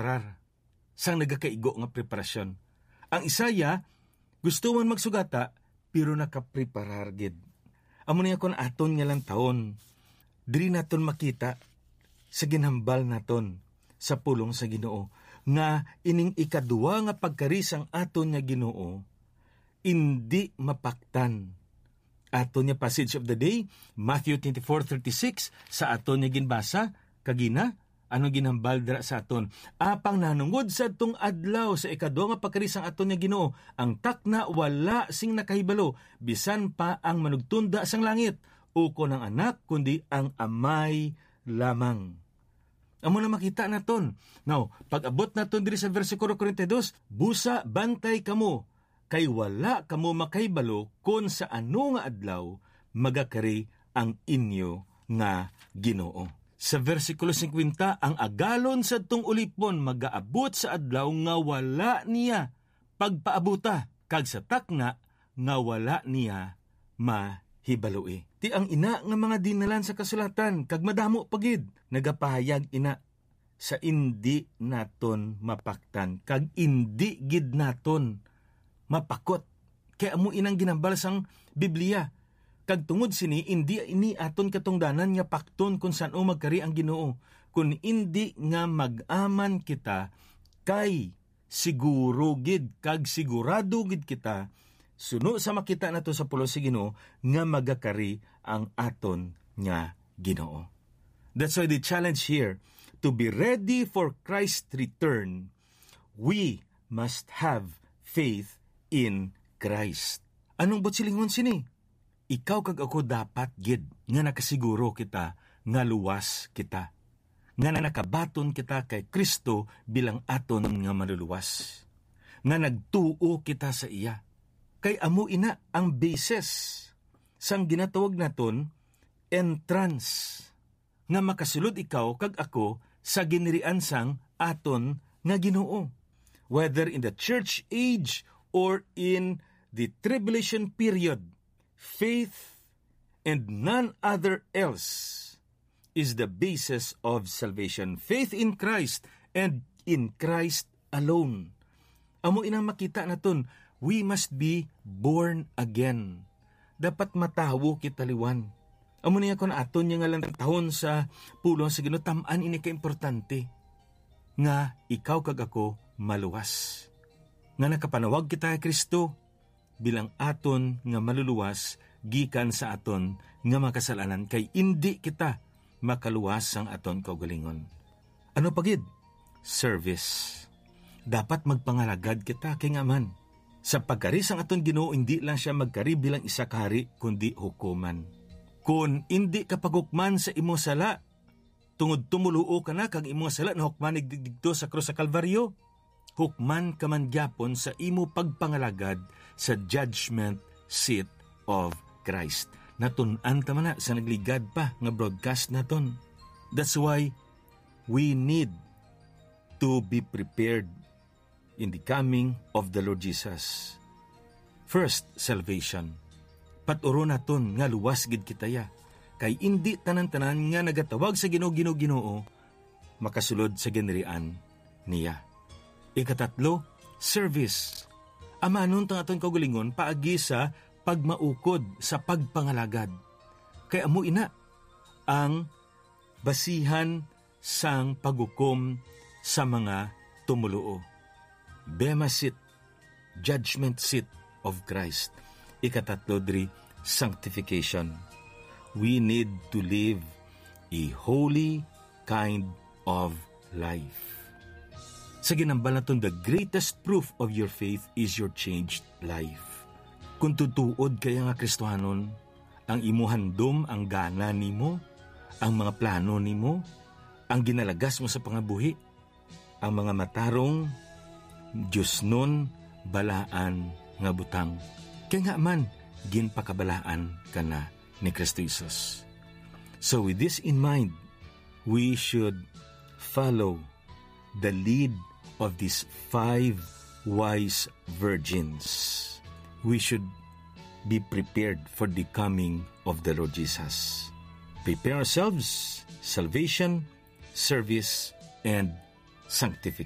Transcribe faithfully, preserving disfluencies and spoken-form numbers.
nagapreparar, sang nagakaigo nga preparasyon. Ang Isaiah gusto man magsugata, pero nakapreparar gid. Amo niya kon aton nga lantawon, diri naton makita sa ginhambal naton sa pulong sa Ginoo nga ining ikaduha nga pagkari sang aton nga Ginoo indi mapaktan. Aton nga passage of the day, Matthew twenty-four thirty-six, sa aton nga ginbasa kagina, ano ginhambal dira sa aton? Apang nahanungod sa adtong adlaw sa ikaduha nga pagkari sang aton nga Ginoo, ang takna wala sing nakahibalo, bisan pa ang manugtunda sang langit, ukon ang Anak, kundi ang Amay lamang. Amo na makita naton. Now, pag-abot naton diri sa bersikulo forty-two, "Busa, bantay kamo, kay wala kamo makahibalo kon sa ano nga adlaw magakari ang inyo nga Ginoo." Sa bersikulo fifty, ang agalon sadtong ulipon magaabot sa adlaw nga wala niya pagpaabuta, kag sa takna nga wala niya mahibaloi. Ti ang ina nga mga dinalan sa kasulatan, kag madamo pa gid, nagapahayag ina sa indi naton mapaktan, kag indi gid naton mapakot. Kay amo inang ginambal sang Biblia. Kag tungod sini, indi ini aton katungdanan nga pakton kon san-o magkari ang Ginoo, kun indi nga mag-aman kita kay siguro gid kag sigurado gid kita, suno sa makita nato sa pulong sa Ginoo, nga magakari ang aton nga Ginoo. That's why the challenge here, to be ready for Christ's return, we must have faith in Christ. Anong buot silingon sini? Ikaw kag ako dapat gid nga nakasiguro kita nga luwas kita, nga nakabaton kita kay Kristo bilang aton nga Manluluwas, nga nagtuo kita sa iya. Kay amo ina ang basis sang ginatawag naton entrance, nga makasulod ikaw kag ako sa ginirian sang aton nga Ginoo, whether in the church age or in the tribulation period. Faith and none other else is the basis of salvation. Faith in Christ and in Christ alone. Amo inang makita naton, we must be born again. Dapat matawo kita liwat. Amo niya kon aton niya nga lantawon sa pulong sa Ginoo, tam-an ini kaimportante, nga ikaw kag ako maluwas. Nga nakapanawag kita kay Kristo bilang aton nga Manluluwas gikan sa aton nga mga kasalanan, kay indi kita makaluwas sang aton kaugalingon. Ano pa gid? Service. Dapat magpangalagad kita, kay ngaa man, sa pagkari sang aton Ginoo, indi lang siya magkari bilang isa ka hari, kundi hukuman. Kon indi ka paghukman sa imo sala, tungod tumoluo ka na kag imo nga sala nahukman dig-, digto sa krus sa Kalbaryo, hukman ka man gyapon sa imo pagpangalagad sa judgment seat of Christ. Natun-an ta man na sa nagligad pa nga broadcast naton. That's why we need to be prepared in the coming of the Lord Jesus. First, salvation. Paturon naton nga luwas gid kita ya, kay indi tanan-tanan nga nagatawag sa Ginoo, Ginoo, Ginoo, makasulod sa ginirian niya. Ikatatlo, service. Amanon ta ang aton kaugalingon paagi sa pagmaukod sa pagpangalagad. Kay amo ina ang basihan sang paghukom sa mga tumoluo. Bema seat, judgment seat of Christ. Ikatatlo diri, sanctification. We need to live a holy kind of life. Sa ginambal naton, the greatest proof of your faith is your changed life. Kung tutuod kaya nga Kristohanon, ang imo handom, ang gana nimo, ang mga plano nimo, ang ginalagas mo sa pangabuhi, ang mga matarong, diosnon, balaan nga butang. Kay nga man, ginpakabalaan ka na ni Kristo Jesus. So with this in mind, we should follow the lead of these five wise virgins. We should be prepared for the coming of the Lord Jesus. Prepare ourselves, salvation, service, and sanctification.